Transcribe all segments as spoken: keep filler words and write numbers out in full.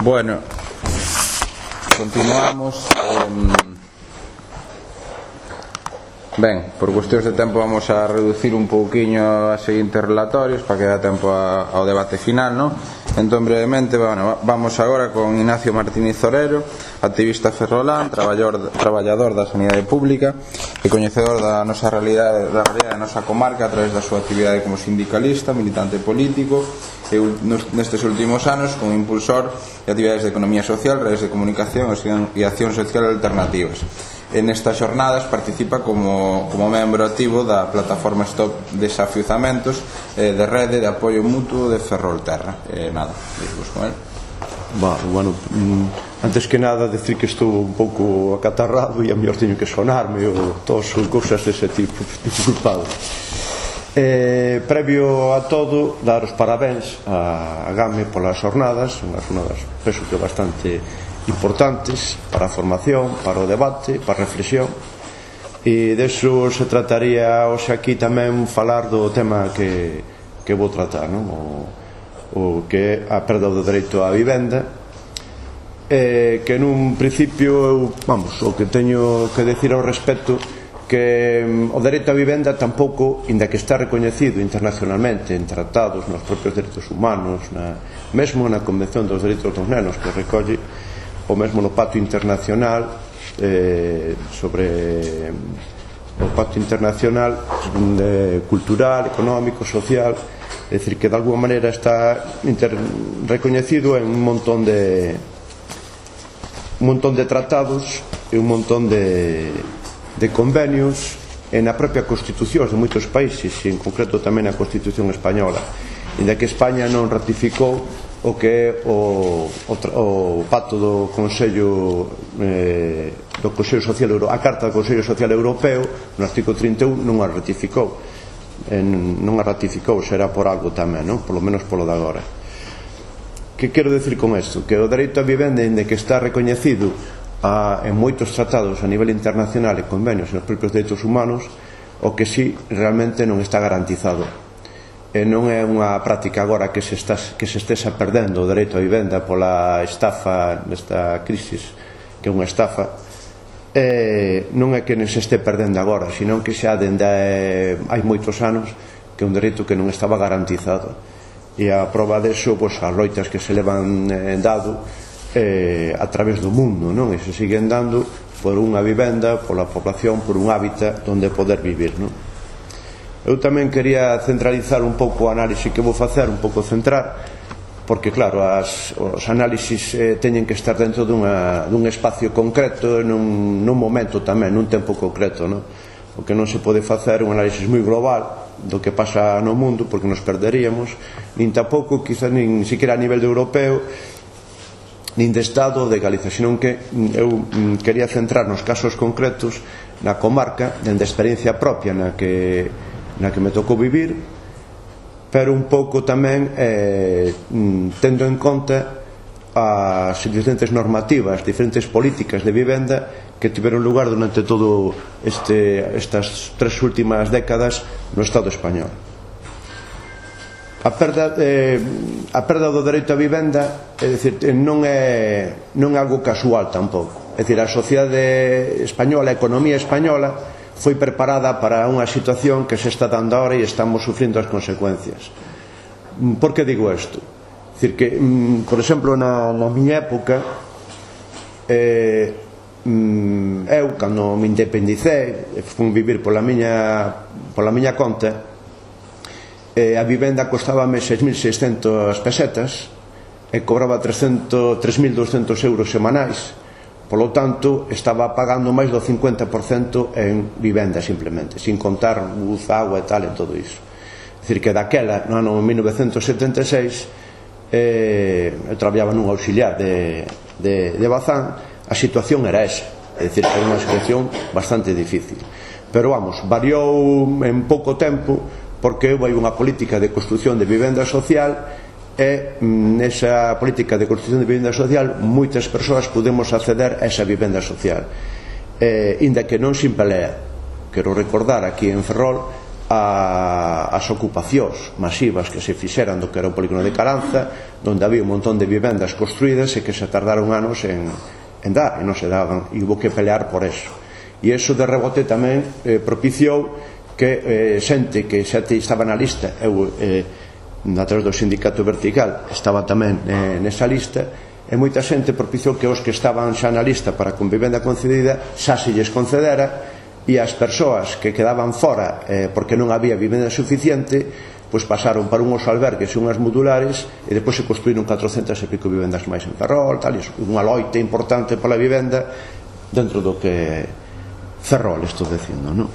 Bueno, continuamos. eh, Ben, por cuestións de tempo vamos a reducir un pouquiño a seguintes relatorios para que dá tempo a, ao debate final, non? Entón, brevemente, bueno, vamos agora con Ignacio Martínez Orero, activista ferrolán, traballador, traballador da sanidade pública e coñecedor da nosa realidade, da realidade da nosa comarca a través da súa actividade como sindicalista, militante político e nestes últimos anos como impulsor de actividades de economía social, redes de comunicación e acción social alternativas. En estas jornadas participa como, como membro activo da plataforma Stop Desafiuzamentos eh, de rede de apoio mutuo de Ferrolterra. Eh, nada, dirvos con él. Bah, bueno, antes que nada decir que estou un pouco acatarrado e a mellor teño que sonarme ou todas son cousas dese tipo, disculpado. Eh, previo a todo, dar os parabéns a, a GAME polas jornadas, unhas jornadas penso que bastante importantes para a formación, para o debate, para a reflexión, e deso se trataría hoxe aquí tamén falar do tema que, que vou tratar, non? O, o que é a perda do dereito á vivenda, eh, que nun principio eu, vamos, o que teño que decir ao respecto que o dereito á vivenda tampouco, inda que está recoñecido internacionalmente en tratados, nos propios dereitos humanos, na, mesmo na Convención dos Dereitos dos Nenos, que recolle, o mesmo no Pacto Internacional eh, sobre o Pacto Internacional eh, cultural, económico, social, é dicir que de alguma maneira está inter, recoñecido en un montón de un montón de tratados e un montón de, de convenios e na propia Constitución de moitos países, e en concreto tamén a Constitución española, inda que España non ratificou o que é o, o, o pacto do Consello eh, do Consello Social Europeo, a Carta do Consello Social Europeo, no artigo trinta e un non a ratificou, en, non a ratificou, será por algo tamén, non? Polo menos polo de agora. Que quero decir con isto? Que o dereito á vivenda, inda que está recoñecido a, en moitos tratados a nivel internacional e convenios nos propios dereitos humanos, o que sí realmente non está garantizado. E non é unha práctica agora que se, está, que se estesa perdendo o dereito á vivenda pola estafa nesta crisis, que é unha estafa, e non é que non se este perdendo agora, senón que xa dende hai moitos anos que é un dereito que non estaba garantizado, e a prova deso, pois, as loitas que se levan eh, dado eh, a través do mundo, non? E se siguen dando por unha vivenda, pola población, por un hábitat onde poder vivir, non? Eu tamén quería centralizar un pouco o análise que vou facer, un pouco centrar, porque claro, as, os análisis eh, teñen que estar dentro dunha, dun espacio concreto, nun, nun momento tamén, nun tempo concreto, non? O que non se pode facer un análisis moi global do que pasa no mundo, porque nos perderíamos, nin tampouco, quizás nin siquiera a nivel de europeo, nin de Estado ou de Galicia, senón que eu quería centrar nos casos concretos na comarca, dende a experiencia propia na que na que me tocou vivir, pero un pouco tamén eh, tendo en conta as diferentes normativas, diferentes políticas de vivenda que tiveron lugar durante todo este, estas tres últimas décadas no Estado español. A perda, eh, a perda do dereito á vivenda, é dicir, non é, non é algo casual tampouco. É dicir, a sociedade española, a economía española foi preparada para unha situación que se está dando ahora e estamos sufrindo as consecuencias. Por que digo isto? É dicir que, por exemplo, na, na miña época, eh, eu, cando me independicei, fui vivir pola miña, pola miña conta, eh, a vivenda costábame seis mil seiscentas pesetas e cobraba tres mil douscentos euros semanais. Polo tanto, estaba pagando máis do cincuenta por cento en vivenda simplemente, sin contar luz, agua e tal, e todo iso. É dicir, que daquela, no ano mil novecentos setenta e seis, eh, eu traballaba nun auxiliar de, de, de Bazán, a situación era esa, é dicir, era unha situación bastante difícil. Pero vamos, variou en pouco tempo, porque houve unha política de construción de vivenda social, e nesa política de construción de vivenda social moitas persoas podemos acceder a esa vivenda social, eh, inda que non sin pelea. Quero recordar aquí en Ferrol a, as ocupacións masivas que se fixeran do que era o polígono de Caranza, donde había un montón de vivendas construídas e que se tardaron anos en, en dar, e non se daban, e hubo que pelear por eso. E eso de rebote tamén eh, propiciou que eh, xente que xa te estaba na lista, eu eh, a través do sindicato vertical estaba tamén eh, nesa lista, e moita xente propiciou que os que estaban xa na lista para con vivenda concedida xa se lles concedera, e as persoas que quedaban fora eh, porque non había vivenda suficiente, pois pasaron para unhos albergues e unhas modulares, e depois se construíron catrocentas e pico vivendas máis en Ferrol, tal, e unha loita importante pola vivenda dentro do que Ferrol estou dicindo, non?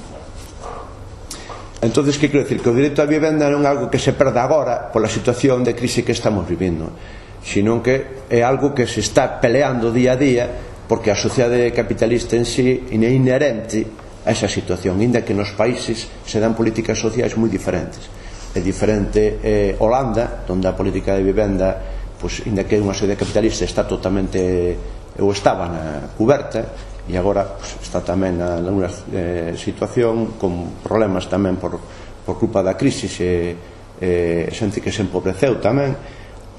Entonces, que quero dicir? Que o direito á vivenda non é algo que se perda agora pola situación de crise que estamos vivindo, sino que é algo que se está peleando día a día, porque a sociedade capitalista en sí é inherente a esa situación, inda que nos países se dan políticas sociais moi diferentes. É diferente eh, Holanda, onde a política de vivenda, pues, inda que é unha sociedade capitalista, está totalmente, ou estaba na cuberta, e agora pues, está tamén na, na unha eh, situación con problemas tamén por, por culpa da crisis, e eh, xente que se empobreceu tamén,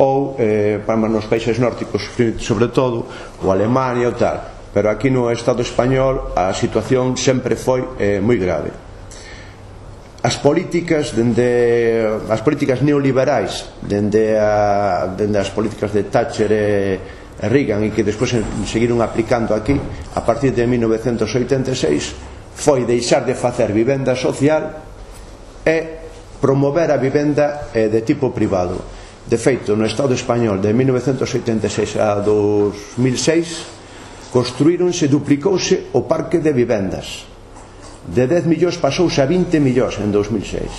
ou eh, para nos países nórdicos, sobre todo, ou Alemania ou tal. Pero aquí no Estado español a situación sempre foi eh, moi grave. As políticas dende as políticas neoliberais, dende, a, dende as políticas de Thatcher e, e Reagan, e que despois seguiron aplicando aquí a partir de mil novecentos oitenta e seis, foi deixar de facer vivenda social e promover a vivenda eh, de tipo privado. De feito, no Estado español de mil novecentos oitenta e seis a dos mil seis construíronse, duplicouse o parque de vivendas, de dez millóns pasouse a vinte millóns en dos mil seis.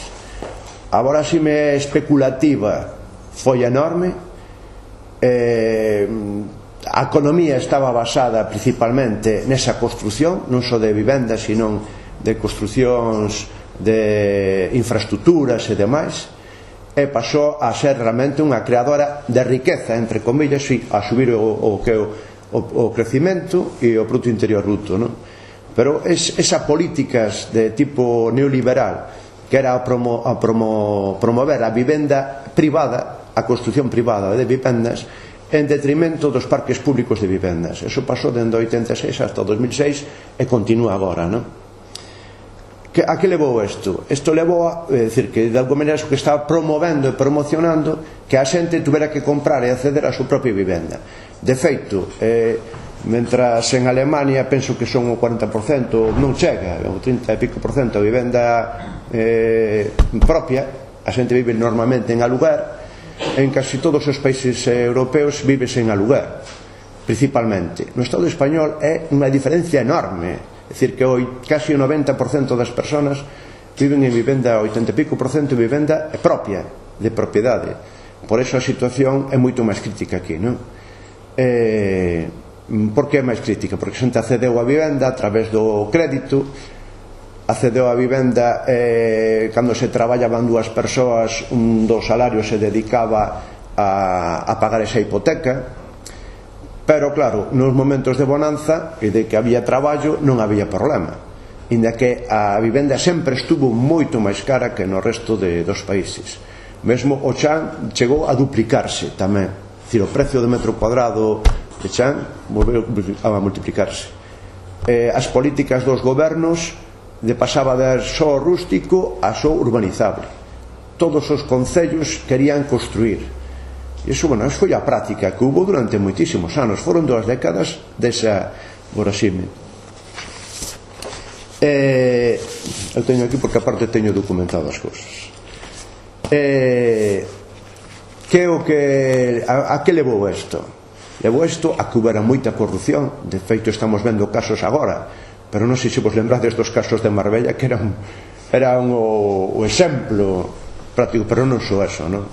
A voráxime especulativa foi enorme, eh, a economía estaba basada principalmente nesa construción, non só de vivendas, sino de construcións de infraestructuras e demais, e pasou a ser realmente unha creadora de riqueza, entre comillas, a subir o, o que o o crecimento e o Produto Interior Bruto, non? Pero es, esa políticas de tipo neoliberal, que era a, promo, a promo, promover a vivenda privada, a construción privada de vivendas, en detrimento dos parques públicos de vivendas. Eso pasou dende oitenta e seis hasta dos mil seis e continúa agora, non? Que, a que levou isto? Isto levou a, é dicir, que de alguma maneira que estaba promovendo e promocionando que a xente tuvera que comprar e acceder a súa propia vivenda. De feito, eh, mentras en Alemania penso que son o cuarenta por cento, non chega, o trinta e pico por cento a vivenda eh, propia, a xente vive normalmente en aluguer. En casi todos os países europeos vives en aluguer, principalmente. No Estado español é unha diferencia enorme. É dicir, que hoy casi o noventa por cento das persoas viven en vivenda, oitenta e pico por cento de vivenda propia, de propiedade. Por eso a situación é moito máis crítica aquí, non? Eh, por que é máis crítica? Porque a xente accedeu a vivenda a través do crédito, accedeu a vivenda eh, cando se traballaban dúas persoas, un dos salarios se dedicaba a, a pagar esa hipoteca. Pero claro, nos momentos de bonanza e de que había traballo non había problema, inda que a vivenda sempre estuvo moito máis cara que no resto de, dos países. Mesmo o chan chegou a duplicarse tamén, é dicir, o precio de metro cuadrado de chan volveu a multiplicarse. Eh, as políticas dos gobernos de pasaba de só rústico a só urbanizable. Todos os concellos querían construir. E iso, bueno, iso foi a práctica que hubo durante moitísimos anos. Foron dúas décadas desa voraxime. Eh, eu teño aquí porque aparte teño documentado as cousas. Eh, que o que a, a que levou isto? Levou isto a que houbera moita corrupción. De feito, estamos vendo casos agora, pero non sei se vos lembrades dos casos de Marbella, que eran, eran o, o exemplo práctico, pero non só eso, non?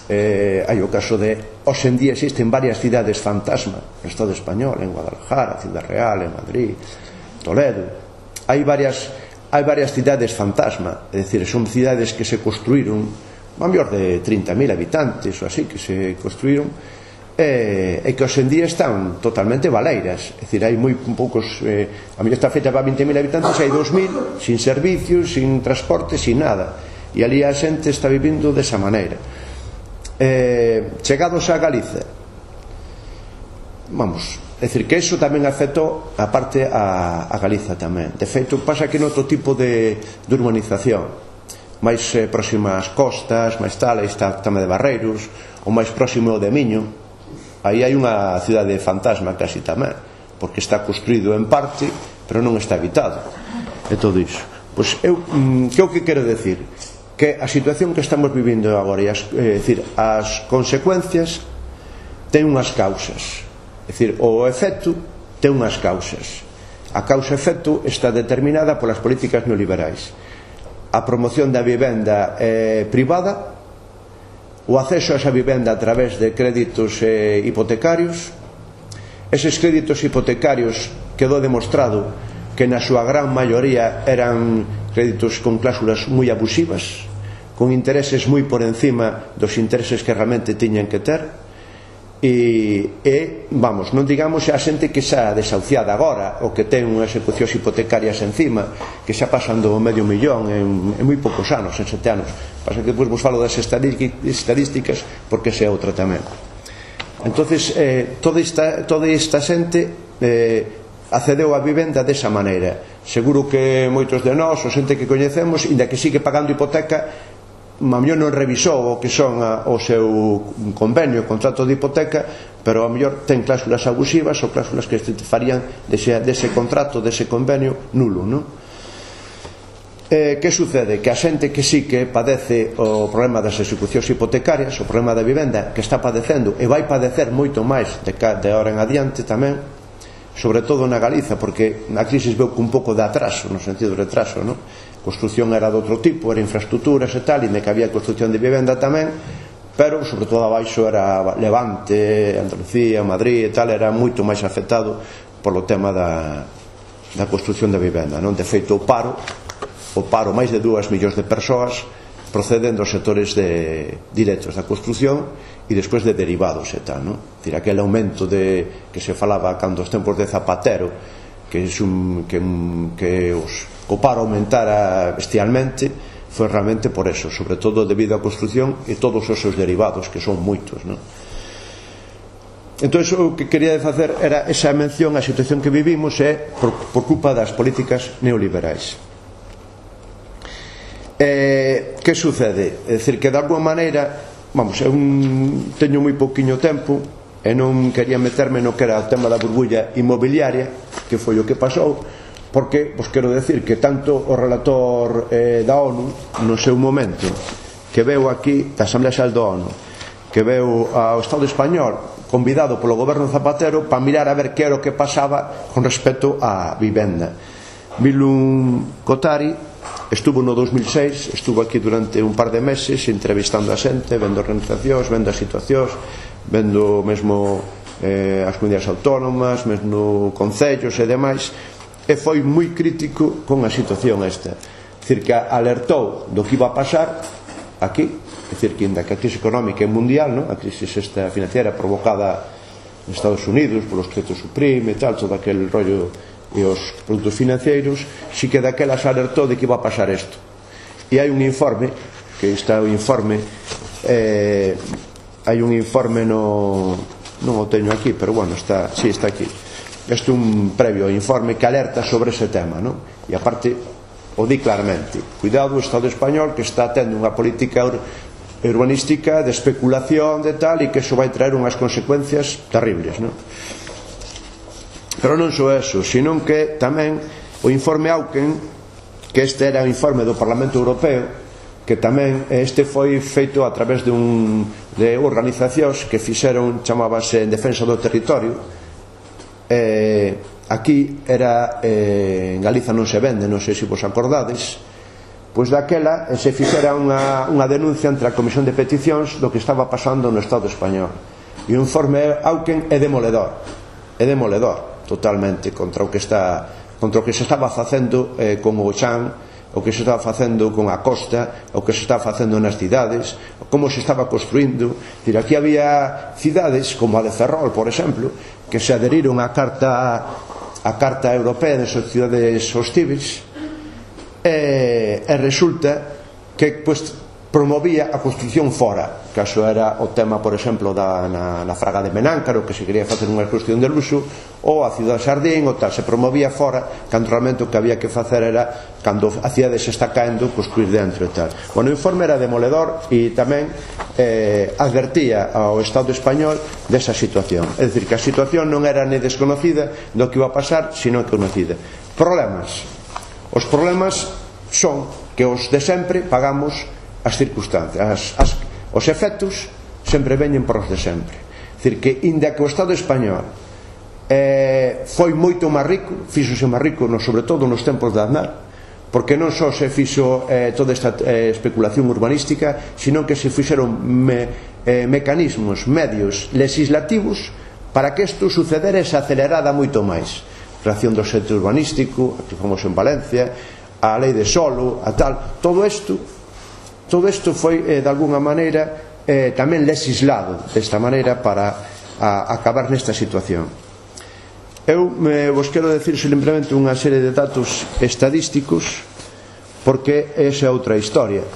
Eh, hai o caso de, hoxe en día existen varias cidades fantasma no Estado español, en Guadalajara, Ciudad Real, en Madrid, Toledo. Hai varias, hai varias cidades fantasma, é dicir, son cidades que se construíron a mellor de trinta mil habitantes ou así, que se construíron e, e que hoxendía están totalmente baleiras, é dicir, hai moi poucos, eh, a mellor está feita para vinte mil habitantes, hai dos mil sin servicios, sin transporte, sin nada, e ali a xente está vivindo desa maneira. Eh, chegados a Galiza, vamos, é dicir, que iso tamén afectou a parte a, a Galiza tamén. De feito, pasa que noutro tipo de, de urbanización máis eh, próxima ás costas, máis tal, aí está tamén de Barreiros, ou máis próximo ao de Miño, aí hai unha cidade fantasma casi tamén, porque está construído en parte pero non está habitado, e todo iso. Pois eu, que é o que quero decir? Que a situación que estamos vivindo agora, e as, é dicir, as consecuencias ten unhas causas, é dicir, o efecto ten unhas causas. A causa-efecto está determinada polas políticas neoliberais. A promoción da vivenda eh, privada, o acceso a esa vivenda a través de créditos eh, hipotecarios. Eses créditos hipotecarios quedou demostrado que na súa gran maioría eran créditos con cláusulas moi abusivas, con intereses moi por encima dos intereses que realmente tiñan que ter. E, e vamos, non digamos a xente que xa desahuciada agora, ou que ten unhas execucións hipotecarias encima, que xa pasan do medio millón en, en moi poucos anos, en sete anos. Pasa que depois vos falo das estadísticas, porque ese é outra tamén. Entonces eh, toda esta, toda esta xente eh, accedeu a vivenda desa maneira. Seguro que moitos de nós, ou xente que coñecemos, inda que sigue pagando hipoteca, a mellor non revisou o que son a, o seu convenio, o contrato de hipoteca, pero a mellor ten cláusulas abusivas ou cláusulas que te farían dese, dese contrato, dese convenio nulo, non? Eh, que sucede? Que a xente que sí que padece o problema das execucións hipotecarias, o problema da vivenda, que está padecendo e vai padecer moito máis de, de ahora en adiante tamén, sobre todo na Galiza, porque na crisis veu con un pouco de atraso, no sentido de retraso, non? Construción era de outro tipo, era infraestructuras e tal, e me que había construción de vivenda tamén, pero sobre todo abaixo era Levante, Andalucía, Madrid e tal, era moito máis afectado polo tema da, da construción de vivenda, non? De feito, o paro, o paro máis de dúas millóns de persoas proceden dos sectores de directos da construción e despois de derivados e tal, non? Dicir, aquele aumento de, que se falaba cando os tempos de Zapatero, que, un, que, que os o paro aumentara bestialmente, foi realmente por eso, sobre todo debido á construción e todos os seus derivados, que son moitos, non? Entón, o que quería facer era esa mención á situación que vivimos é por, por culpa das políticas neoliberais. Eh, que sucede? É dicir, que de alguma maneira, vamos, eu teño moi pouquiño tempo e non quería meterme no que era o tema da burbulla inmobiliaria, que foi o que pasou, porque, vos quero decir que tanto o relator eh, da ONU no seu momento, que veu aquí da Asamblea Xeral da ONU, que veu ao Estado español convidado polo goberno Zapatero para mirar a ver que era o que pasaba con respecto á vivenda. Bilun Kotari estuvo no dos mil seis, estuvo aquí durante un par de meses entrevistando a xente, vendo organizacións, vendo as situacións, vendo mesmo eh, as comunidades autónomas, mesmo concellos e demais, e foi moi crítico con a situación esta. É dicir, que alertou do que iba a pasar aquí, é dicir, que ainda que a crise económica é mundial, non? A crise esta financiera provocada en Estados Unidos polos créditos subprime e tal, todo aquel rollo e os produtos financeiros, si que daquelas alertou de que iba a pasar isto. E hai un informe, que está o informe, eh, hai un informe no... non o teño aquí, pero bueno, está, sí, está aquí. Este é un previo informe que alerta sobre ese tema, non? E aparte o di claramente, cuidado o Estado español que está tendo unha política ur urbanística de especulación de tal, e que iso vai traer unhas consecuencias terribles, non? Pero non só eso, sino que tamén o informe Auken, que este era o informe do Parlamento Europeo, que tamén este foi feito a través de un de organizacións que fixeron, chamábase En Defensa do Territorio. Eh, aquí era eh, en Galiza non se vende, non sei se vos acordades, pois daquela se fixera unha, unha denuncia entre a Comisión de Peticións do que estaba pasando no Estado español, e o informe Auken é demoledor, é demoledor totalmente contra o que está contra o que se estaba facendo eh, con o chan o que se estaba facendo con a costa, o que se estaba facendo nas cidades, como se estaba construindo. Aquí había cidades como a de Ferrol, por exemplo, que se adheriron á carta a carta europea das cidades hostíveis, e, e resulta que pues, promovía a construcción fora, caso era o tema, por exemplo, da, na, na Fraga de Menáncaro, que se quería facer unha construcción de luxo, ou a Ciudad Sardín, ou tal, se promovía fora, cando realmente o que había que facer era, cando a cidade se está caendo, construir dentro e tal. Bueno, o informe era demoledor e tamén eh, advertía ao Estado español desa situación, é dicir, que a situación non era ni desconocida do que iba a pasar, sino conocida. Problemas. Os problemas son que os de sempre pagamos as circunstancias, as, as, os efectos sempre veñen por os de sempre. É dicir, que inda que o Estado español eh, foi moito máis rico, fíxose máis rico no, sobre todo nos tempos de Aznar, porque non só se fixo eh, toda esta eh, especulación urbanística, sino que se fixeron me, eh, mecanismos, medios legislativos para que isto sucedera e se acelerada moito máis. Creación do centro urbanístico, que fomos en Valencia, a lei de solo, a tal, todo isto todo isto foi eh, de alguna maneira eh, tamén legislado desta maneira para a, acabar nesta situación. Eu me, vos quero decir simplemente unha serie de datos estadísticos, porque esa é outra historia,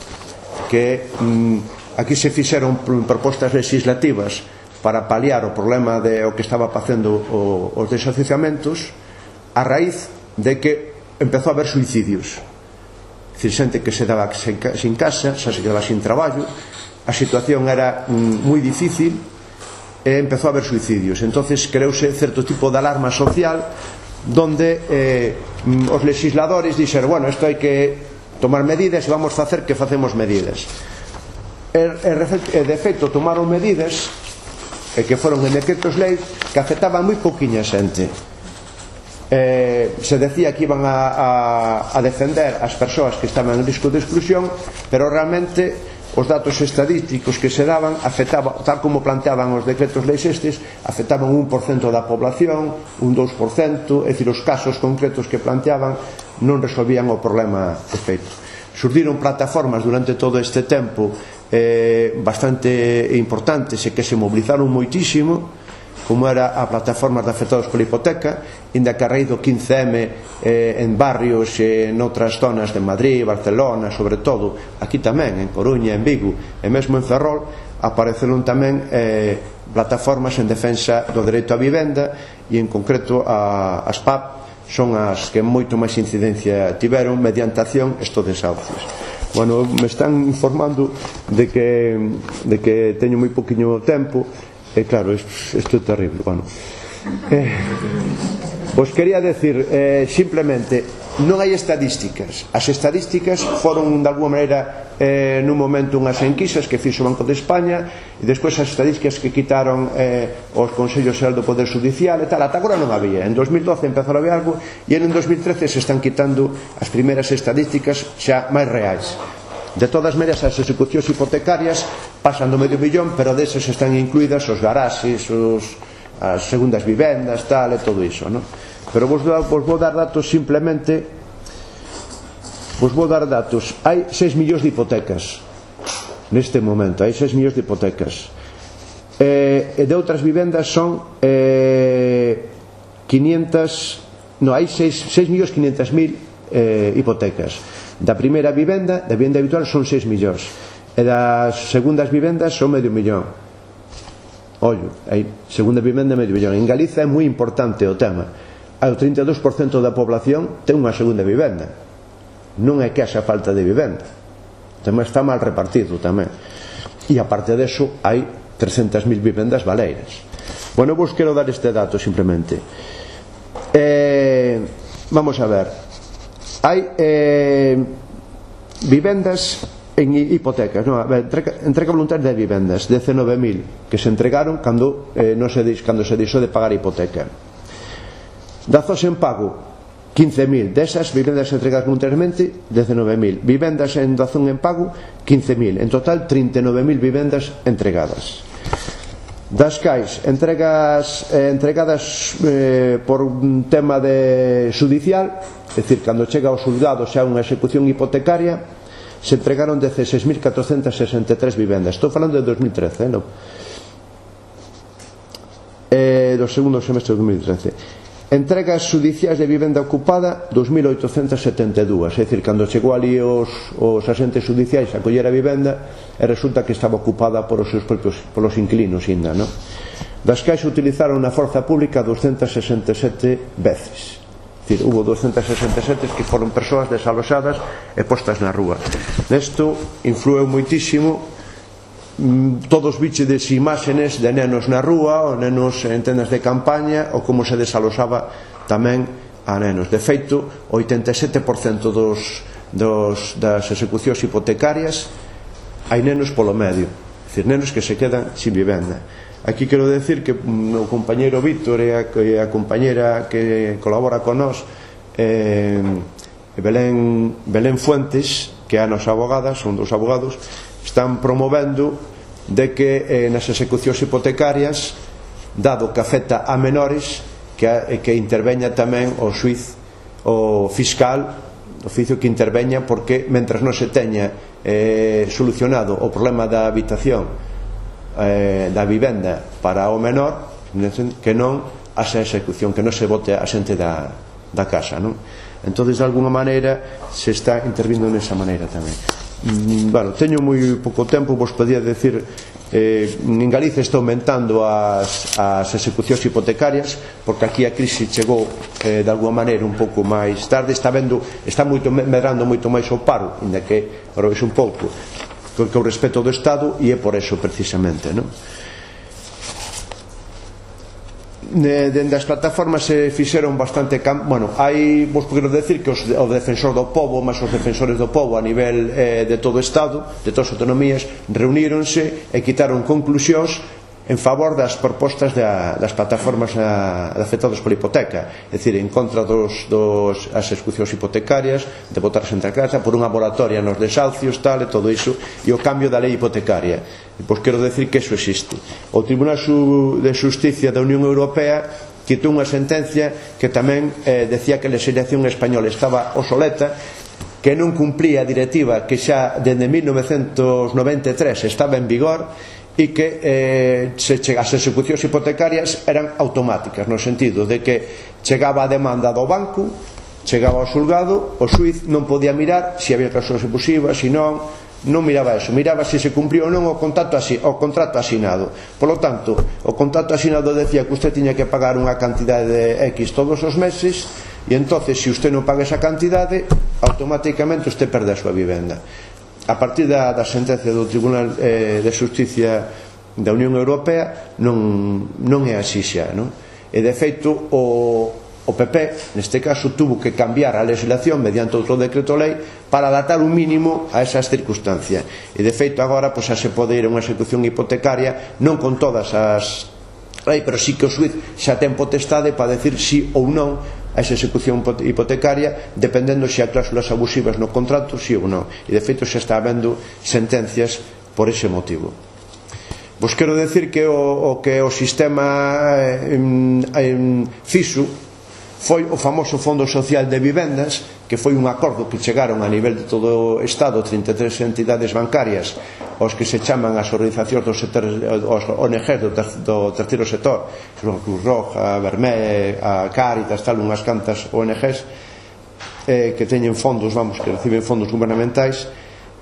que mm, aquí se fixeron propostas legislativas para paliar o problema de o que estaba facendo o, os desasociamentos a raíz de que empezou a haber suicidios. É dicir, xente que se daba sin casa, xa se quedaba sin traballo, a situación era mm, moi difícil, e empezou a haber suicidios. Entonces creouse certo tipo de alarma social, donde eh, os legisladores dixeron, bueno, isto hai que tomar medidas e vamos facer que facemos medidas. E, e de feito tomaron medidas e que foron en decretos lei que afectaban moi pouquiña xente. Eh, se decía que iban a, a, a defender as persoas que estaban en risco de exclusión, pero realmente os datos estadísticos que se daban afectaban, tal como planteaban os decretos leis estes, afectaban un por cento da población, un dous por cento, é dicir, os casos concretos que planteaban non resolvían o problema de feito. Surdiron plataformas durante todo este tempo eh, bastante importantes e que se movilizaron moitísimo, como era a plataforma de afectados pola hipoteca, inda que a raíz do quince eme eh, en barrios e eh, noutras zonas de Madrid, Barcelona, sobre todo aquí tamén, en Coruña, en Vigo e mesmo en Ferrol, apareceron tamén eh, plataformas en defensa do dereito á vivenda, e en concreto a, as P A P son as que moito máis incidencia tiveron mediante acción estos desahucios. Bueno, me están informando de que, de que teño moi poquinho tempo. E claro, isto é terrible. Bueno, eh, vos quería decir eh, simplemente, non hai estadísticas. As estadísticas foron de alguma maneira eh, nun momento unhas enquisas que fixo o Banco de España, e despois as estadísticas que quitaron eh, os Consellos Xeral do Poder Judicial e tal. Ata agora non había. En dos mil doce empezou a haber algo, e en dos mil trece se están quitando as primeiras estadísticas xa máis reais. De todas maneras, as execucións hipotecarias pasan do medio millón, pero desas están incluídas os garaxes, os, as segundas vivendas, tal, e todo iso, ¿no? Pero vos, vos vou dar datos simplemente, vos vou dar datos. Hai seis millóns de hipotecas neste momento, hai seis millóns de hipotecas. Eh, e de outras vivendas son eh, quinientas, no, hai seis millóns quinientas mil eh, hipotecas. Da primeira vivenda, da vivenda habitual, son seis millóns, e das segundas vivendas son medio millón. Ollo, hai segunda vivenda medio millón. En Galiza é moi importante o tema. Hai o trinta e dous por cento da población ten unha segunda vivenda. Non é que haxa falta de vivenda, tamén está mal repartido tamén. E aparte deso hai trescentas mil vivendas baleiras. Bueno, vos quero dar este dato simplemente. Eh, vamos a ver. Hai eh, vivendas en hipotecas, no, entrega, entrega voluntaria de vivendas, dezenove mil que se entregaron cando, eh, non se, cando se deixou de pagar a hipoteca. Dazos en pago, quince mil. Desas vivendas entregadas voluntariamente, dezenove mil. Vivendas en dazón en pago, quince mil. En total, trinta e nove mil vivendas entregadas. Das cais entregas eh, entregadas eh, por un tema de judicial, é dicir, cando chega ao xulgado xa unha execución hipotecaria, se entregaron dieciséis mil catrocentas sesenta e tres vivendas. Estou falando de dos mil trece, eh, non? Eh, do segundo semestre de dos mil trece. Entregas judiciais de vivenda ocupada dos mil oitocentas setenta e dúas, é dicir, cando chegou ali os, os asentes judiciais a coller a vivenda e resulta que estaba ocupada por os seus propios, polos inquilinos ainda, non? Das cais utilizaron na forza pública doscientas sesenta e sete veces, é dicir, hubo doscientas sesenta e sete que foron persoas desaloxadas e postas na rúa. Nesto influeu moitísimo. Todos bichedes imágenes de nenos na rúa, ou nenos en tendas de campaña, ou como se desaloxaba tamén a nenos. De feito, o oitenta e sete por cento dos, dos, das execucións hipotecarias hai nenos polo medio, é dicir, nenos que se quedan sin vivenda. Aquí quero decir que o compañeiro Víctor e a, e a compañera que colabora con nós, eh, Belén, Belén Fuentes, que é a nosa abogada, son dos abogados, están promovendo de que eh, nas execucións hipotecarias, dado que afecta a menores, que, que interveña tamén o xuiz, o fiscal, o oficio que interveña, porque mentras non se teña eh, solucionado o problema da habitación, eh, da vivenda para o menor, que non haxa execución, que non se bote a xente da, da casa, non? Entón, de alguna maneira se está intervindo nesa maneira tamén. Bueno, teño moi pouco tempo, vos podía decir, eh, en Galicia está aumentando as, as execucións hipotecarias, porque aquí a crise chegou eh, de alguma maneira un pouco máis tarde, está vendo, está moito, medrando moito máis o paro, ainda que ahora vexe un pouco, con o respeto do Estado, e é por eso precisamente, non? Dende as plataformas se fixeron bastante cam... bueno, hai, vos quero decir que os, o defensor do povo, máis os defensores do povo a nivel eh, de todo o Estado, de todas as autonomías, reuníronse e quitaron conclusións en favor das propostas da, das plataformas a, afectadas pola hipoteca, é dicir, en contra dos, dos as execucións hipotecarias, de botarse entre a casa, por unha moratoria nos desahucios, tal, e todo iso, e o cambio da lei hipotecaria. E pois quero decir que iso existe. O Tribunal de Xusticia da Unión Europea quitou unha sentencia que tamén eh, decía que a legislación española estaba obsoleta, que non cumplía a directiva que xa dende mil novecentos noventa e tres estaba en vigor, e que eh, se chega, as execucións hipotecarias eran automáticas, no sentido de que chegaba a demanda do banco, chegaba ao xulgado, o xuiz non podía mirar se había cláusulas abusivas, se non, non miraba eso, miraba se se cumpriu ou non o contrato, o contrato asinado. Por lo tanto, o contrato asinado decía que usted tiña que pagar unha cantidade de X todos os meses, e entonces se usted non paga esa cantidade, automáticamente usted perde a súa vivenda. A partir da, da sentencia do Tribunal eh, de Xusticia da Unión Europea non, non é así xa, non? E de feito o, o P P neste caso tuvo que cambiar a legislación mediante outro decreto lei para adaptar un mínimo a esas circunstancias, e de feito agora pois, xa se pode ir a unha execución hipotecaria non con todas as lei, pero sí que o xuiz xa ten potestade para decir si ou non a esa execución hipotecaria, dependendo se há cláusulas abusivas no contrato, si ou non. E de feito xa está habendo sentencias por ese motivo. Vos quero decir que o, o que o sistema eh, eh, fixo foi o famoso Fondo Social de Vivendas, que foi un acordo que chegaron a nivel de todo o Estado, trinta e tres entidades bancarias, os que se chaman as organizacións dos sectores, os O N Gs do, ter, do terceiro sector, que son a Cruz Roja, a Vermé, a Cáritas, tal, unhas cantas O N Gs eh, que teñen fondos, vamos, que reciben fondos gubernamentais,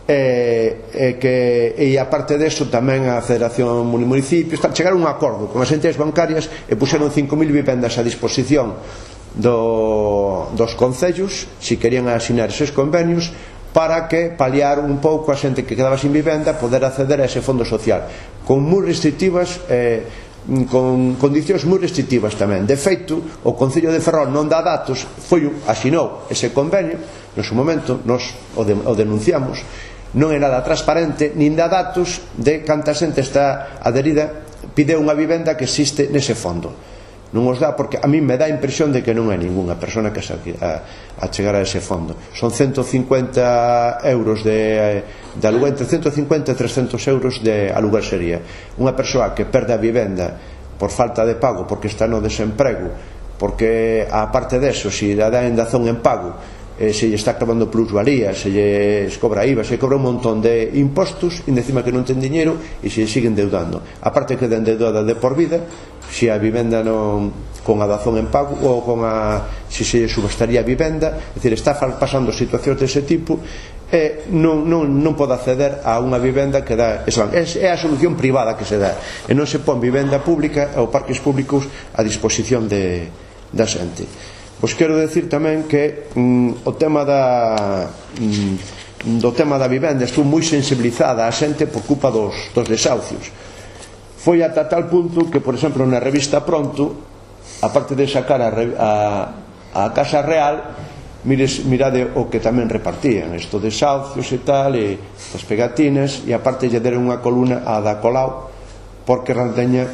e, e que e aparte deso tamén a Federación Municipios, chegaron a un acordo con as entidades bancarias e puxeron cinco mil vivendas a disposición do, dos concellos, se querían asinar eses convenios, para que paliar un pouco a xente que quedaba sin vivenda, poder acceder a ese fondo social, con moi restrictivas, eh, con condicións moi restrictivas tamén. De feito, o Concello de Ferrol non dá datos, foi, asinou ese convenio, no seu momento, nos o, de, o denunciamos, non é nada transparente, nin dá datos de canta xente está adherida, pide unha vivenda que existe nese fondo. non os dá, porque a mí me dá a impresión de que non é ningunha persona que se a, a chegar a ese fondo. Son ciento cincuenta euros de, de aluguer, entre ciento cincuenta e trescentos euros de aluguer sería. Unha persoa que perde a vivenda por falta de pago, porque está no desemprego, porque aparte deso, se dá a indazón en pago, eh, se lle está clavando plusvalía, se lle cobra I V A, se lle cobra un montón de impostos, e encima que non ten diñeiro e se lle siguen deudando. Aparte que den deudada de por vida, se a vivenda non con a dazón en pago ou con a se se subastaría a vivenda, é dicir, está pasando situacións dese tipo e non, non, non pode acceder a unha vivenda que dá é, é a solución privada que se dá, e non se pon vivenda pública ou parques públicos a disposición de, da xente. Pois quero decir tamén que mm, o tema da mm, do tema da vivenda estou moi sensibilizada a xente por culpa dos, dos desahucios. Foi ata tal punto que, por exemplo, na revista Pronto, aparte de sacar a, a, a Casa Real, mires, mirade o que tamén repartían, estos desahucios e tal, e as pegatinas, e aparte lle deron unha columna a da Colau, porque ranteña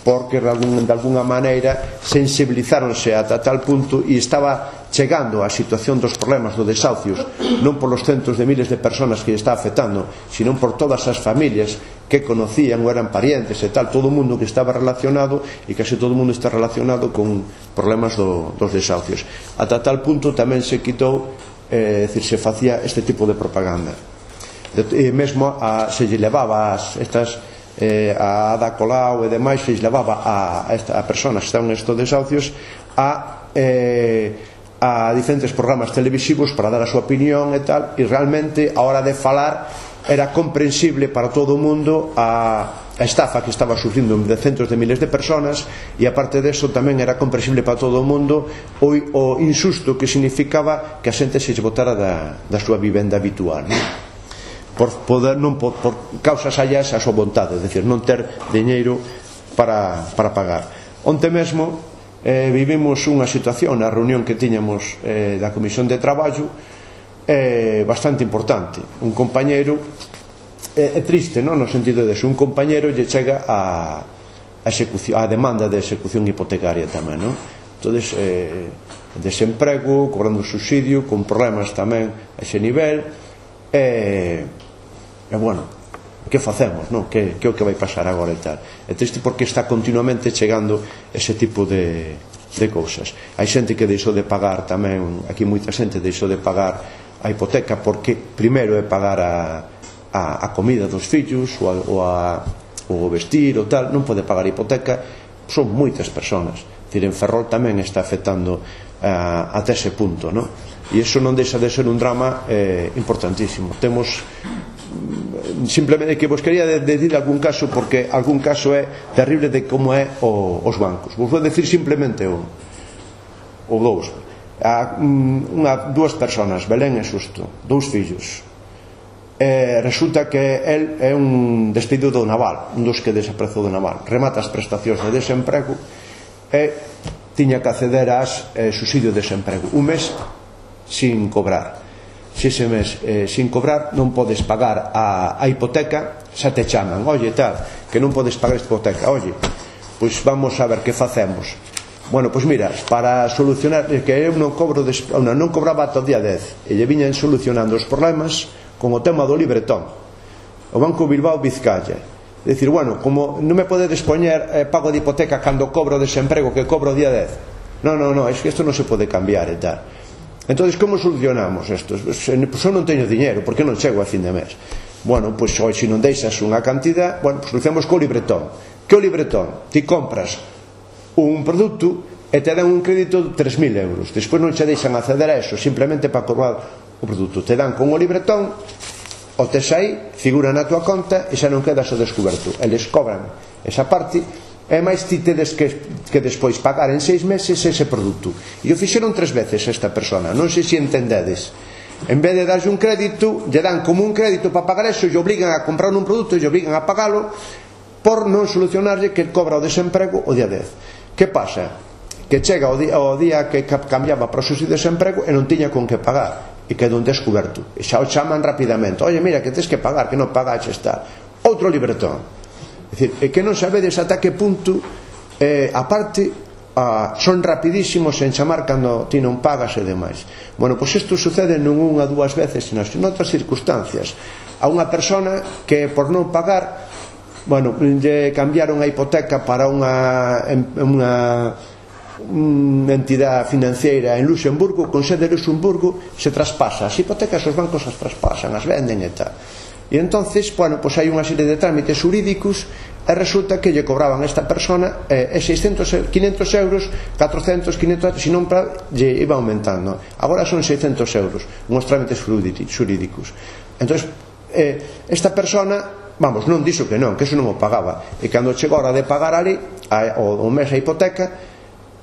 porque de alguna maneira sensibilizáronse ata tal punto e estaba chegando a situación dos problemas dos desahucios non por los centos de miles de personas que está afectando, sino por todas as familias que conocían ou eran parientes e tal, todo o mundo que estaba relacionado, e case todo o mundo está relacionado con problemas do, dos desahucios. Ata tal punto tamén se quitou, eh, decir, se facía este tipo de propaganda, e mesmo a, se lle levaba as, estas Eh, a Ada Colau e demais, se levaba a, a, esta, a personas que estaban nestes desahucios a, eh, a diferentes programas televisivos para dar a súa opinión e tal, e realmente a hora de falar era comprensible para todo o mundo a, a estafa que estaba sufrindo de centos de miles de personas, e aparte deso tamén era comprensible para todo o mundo o, o insusto que significaba que a xente se botara da, da súa vivenda habitual, non? Por, poder, non por, por causas allas a súa vontade, é dicir, non ter diñeiro para, para pagar. Onte mesmo eh, vivimos unha situación na reunión que tiñamos eh, da Comisión de Traballo eh, bastante importante. Un compañeiro é eh, triste, non? No sentido de que un compañeiro lle chega a, a, execución, a demanda de execución hipotecaria tamén, non? Entonces, eh, desemprego, cobrando subsidio, con problemas tamén a ese nivel. E, e bueno, que facemos, non? Que, que é o que vai pasar agora e tal. É triste porque está continuamente chegando ese tipo de, de cousas. Hai xente que deixou de pagar tamén, aquí moita xente deixou de pagar a hipoteca porque primeiro é pagar a, a, a comida dos fillos ou, a, ou a, o vestir ou tal, non pode pagar a hipoteca. Son moitas persoas, decir, en Ferrol tamén está afectando uh, até ese punto, non? E iso non deixa de ser un drama eh, importantísimo. Temos simplemente que vos quería decir algún caso, porque algún caso é terrible de como é o, os bancos. Vos vou decir simplemente un ou dous. A, unha, dúas personas, Belén e Susto, dous fillos. E resulta que el é un despedido do naval, un dos que desapareceu do naval, remata as prestacións de desemprego e tiña que acceder ás eh, subsidio de desemprego un mes sin cobrar. Se ese mes eh, sin cobrar non podes pagar a, a hipoteca, xa te chaman, oye tal, que non podes pagar esta hipoteca, oye, pois vamos a ver que facemos. Bueno, pois mira, para solucionar, que eu non cobro des, non, non cobraba ata o día dez, e lle viñan solucionando os problemas con o tema do libretón, o Banco Bilbao Vizcaya. É dicir, bueno, como non me podedes poñer eh, pago de hipoteca cando cobro desemprego, que cobro o día dez, non, non, non, é que isto non se pode cambiar e tal. Entón, como solucionamos isto? Pois eu non teño diñeiro, porque non chego a fin de mes. Bueno, pois oi, se non deixas unha cantidad, bueno, pois solucionamos co libretón. Que o libretón? Ti compras un produto e te dan un crédito de tres mil euros. Despois non che deixan acceder a eso, simplemente para cobrar o produto. Te dan con o libretón, o tes aí, figura na tua conta e xa non quedas ao descoberto. Eles cobran esa parte. E máis ti tedes que, que despois pagar en seis meses ese produto. E o fixeron tres veces esta persona, non sei se entendedes. En vez de darlle un crédito, lle dan como un crédito para pagar eso, e obligan a comprar un produto e obligan a pagalo por non solucionarlle que cobra o desemprego o día dez. Que pasa? Que chega o día, o día que cambiaba para o subsidio de desemprego e non tiña con que pagar e quedou un descoberto. E xa o chaman rapidamente, oye, mira, que tens que pagar, que non pagaxe está. Outro libretón. É dicir, é que non sabedes ata que punto eh, aparte Ah, son rapidísimos en chamar cando ti non pagas e demais. Bueno, pois isto sucede non unha, dúas veces, sino en outras circunstancias. A unha persona que por non pagar, bueno, lle cambiaron a hipoteca para unha unha unha entidade financiera en Luxemburgo, con sede de Luxemburgo, se traspasa as hipotecas, os bancos as traspasan, as venden e tal. E entonces, bueno, pois hai unha serie de trámites xurídicos e resulta que lle cobraban a esta persona eh, seiscentos, quinhentos euros, catrocentos, quinhentos, se non para, lle iba aumentando. Agora son seiscentos euros unhos trámites xurídicos. Entón, eh, esta persona, vamos, non dixo que non, que eso non o pagaba, e cando chegou a hora de pagar ali a, o, o mes a hipoteca,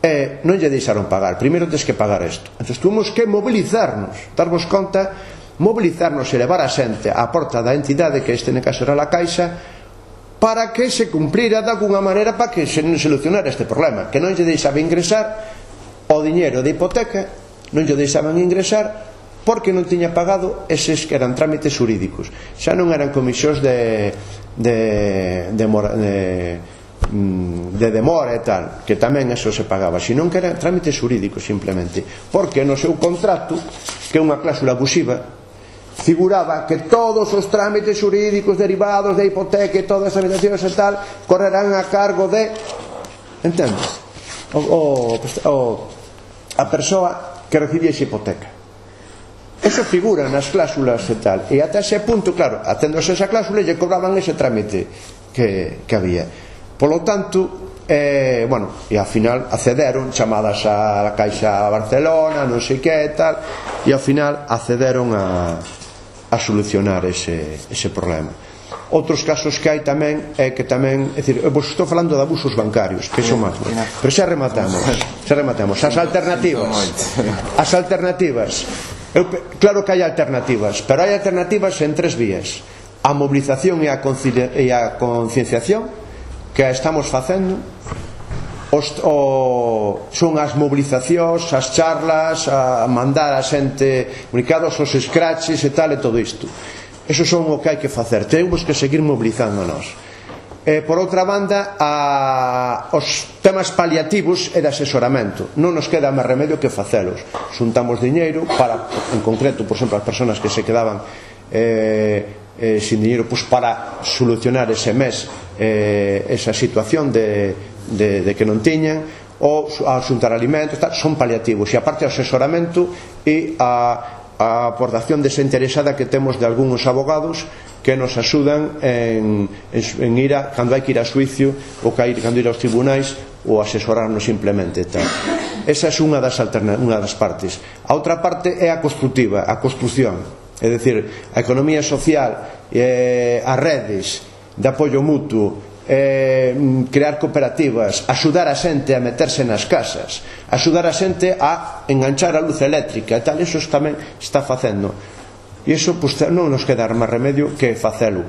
eh, non lle deixaron pagar. Primeiro tens que pagar isto. Entón tuvimos que mobilizarnos, darvos conta, mobilizarnos e levar a xente á porta da entidade, que este caso era a Caixa, para que se cumplira de alguna maneira, para que se solucionara este problema, que non lle deixaba ingresar o diñeiro de hipoteca, non lle deixaban ingresar porque non tiña pagado eses que eran trámites xurídicos, xa non eran comisións de de de, de, de demora e tal, que tamén eso se pagaba, senón que eran trámites xurídicos simplemente, porque no seu contrato, que é unha cláusula abusiva, figuraba que todos os trámites xurídicos derivados da hipoteca e todas as habitacións e tal correrán a cargo de, entendes, o, o, o, a persoa que recibía esa hipoteca. Eso figura nas cláusulas e tal, e ata ese punto, claro, aténdose esa cláusula, lle cobraban ese trámite que, que había. Polo tanto, eh, bueno, e ao final accederon, chamadas a Caixa Barcelona, non sei que e tal, e ao final accederon a a solucionar ese, ese problema. Outros casos que hai tamén é que tamén, é dicir, vos estou falando de abusos bancarios, que son máis, pero xa rematamos, xa rematamos. As alternativas, as alternativas, eu, claro que hai alternativas, pero hai alternativas en tres vías: a mobilización e a, e a concienciación, que a estamos facendo. Os, o, son as mobilizacións, as charlas, a mandar a xente comunicados, os scratches e tal, e todo isto. Eso son o que hai que facer, temos que seguir mobilizándonos. E, por outra banda, a, os temas paliativos e de asesoramento, non nos queda máis remedio que facelos. Xuntamos diñeiro para, en concreto, por exemplo, as persoas que se quedaban eh, eh, sin diñeiro, pues, para solucionar ese mes eh, esa situación de De, de que non tiñan, ou a xuntar alimentos, tal, son paliativos, e aparte o asesoramento e a, a aportación desinteresada que temos de algúns abogados que nos axudan en, en, en ir a, cando hai que ir a xuicio ou que hai, cando ir aos tribunais, ou asesorarnos simplemente tal. Esa é unha das, alterna, unha das partes. A outra parte é a constructiva, a construcción, é dicir, a economía social, eh, as redes de apoio mutuo, Eh, crear cooperativas, axudar a xente a meterse nas casas, axudar a xente a enganchar a luz eléctrica e tal, eso tamén está facendo, e iso pues, non nos queda máis remedio que facelo,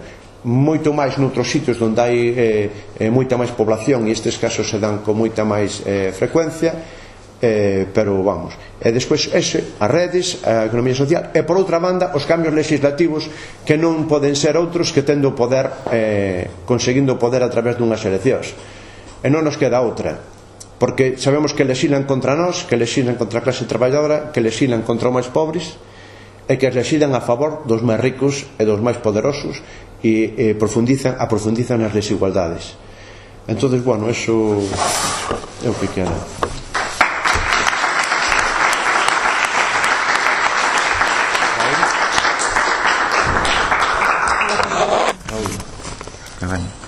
moito máis noutros sitios onde hai eh, eh, moita máis población, e estes casos se dan con moita máis eh, frecuencia. Eh, pero vamos, e despois ese, as redes, a economía social, e por outra banda os cambios legislativos, que non poden ser outros que tendo poder, eh, conseguindo poder a través dunhas eleccións, e non nos queda outra, porque sabemos que lexilan contra nós, que lexilan contra a clase traballadora, que lexilan contra os máis pobres, e que lexilan a favor dos máis ricos e dos máis poderosos, e, e profundizan, aprofundizan as desigualdades. Entonces, bueno, eso é o que queda. Cabaña.